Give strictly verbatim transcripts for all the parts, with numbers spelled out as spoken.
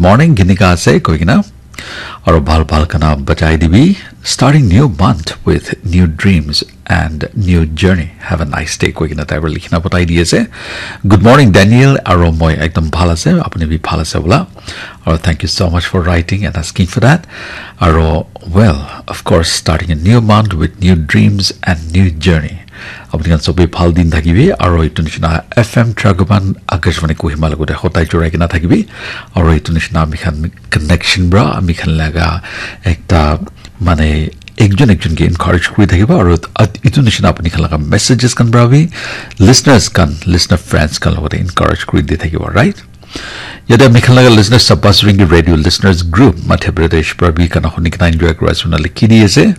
Morning, kenika ase koi kena. Aro bhal bhal gana bajai dibi. Starting new month with new dreams and new journey. Have a nice day koi kena tai para likhina batai di ase. Good morning, Daniel. Aro moi ekdom bhal ase, apni bi bhal ase bola. Aro thank you so much for writing and asking for that. Aro, well, of course, starting a new month with new dreams and new journey. Apni khan sobe bhal din thakibi, aro itu nishina F M Dragoban Akashvani Kohima logote hotai jorai kena thakibi, aro itu nishina ami khan connection bra, ami khan laga ekta mane ekjon ekjon ke encourage kuri thakiba, aro at-, itu nishina apni khan laga messages khan bra bi listeners khan, listener friends khan logote encourage kuri di thakiba, right? Yate ami khan laga listeners Sabas Ringi Radio Listeners Group, Madhya Pradesh pra bi gana huni kena enjoy kuri ase koina likhi di ase.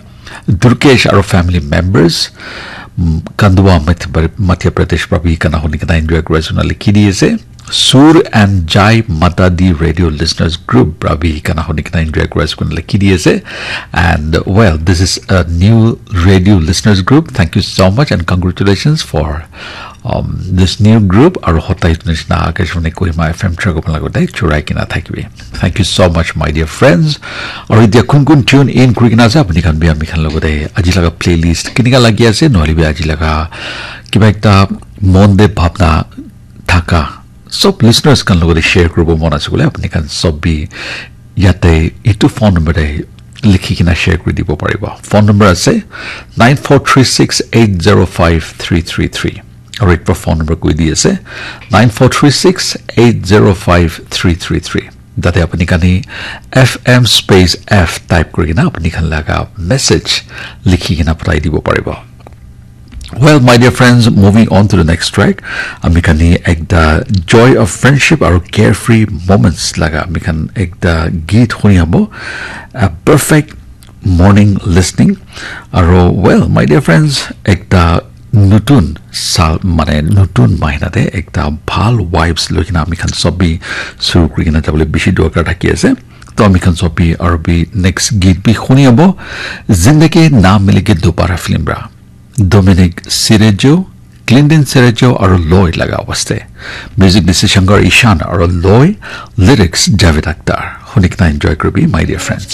Durkesh aro family members, mm, Kandwa, Madhya Pra-, Madhya Pradesh pra bi gana huni kena enjoy kuri ase koina likhi di ase. Sur and Jai Mata Di Radio Listeners Group pra bi gana huni kena enjoy kuri ase koina likhi di ase. And, well, this is a new radio listeners group. Thank you so much and congratulations for um, this new group, aro hotai itu nishina Akashvani Kohima F M Dragoban logote jorai kena thakibi. Thank you so much, my dear friends. Aro etia kun kun tune in kuri kena ase, apni khan bi ami khan logote aji laga playlist kenika lagi ase, nohole bi aji laga kiba ekta mon te bhabna thaka sob listeners khan logote share kuribo mon ase koile, apni khan sob bi yate itu phone number te likhi kena share kuri dibo paribo. Phone number ase nine four three six eight zero five three three three. Aro ekbar phone number koi di ase nine four three six eight zero five three three three. Tate apni khan hi F M space F type kuri kena apni khan laga message likhi kena pathai dibo paribo. Well, my dear friends, moving on to the next track, ami khan hi ekta joy of friendship aro carefree moments laga ami khan ekta geet huni abo, a perfect morning listening. Aro, well, my dear friends, ekta nutun sal, mane nutun mahina te ekta bhal vibes loi kena ami khan sob bi suru kuri kena jabole bishi dorkar thaki ase. To ami khan sob bi aro bi next geet bi huni abo, Zindagi Na Milegi Dobara film pra. Dominic Cerejo, Clinton Cerejo aro Loy laga waste. Music dise Shankar Ishan aro Loy, lyrics Javed Akhtar. Huni kena enjoy kuribi, my dear friends.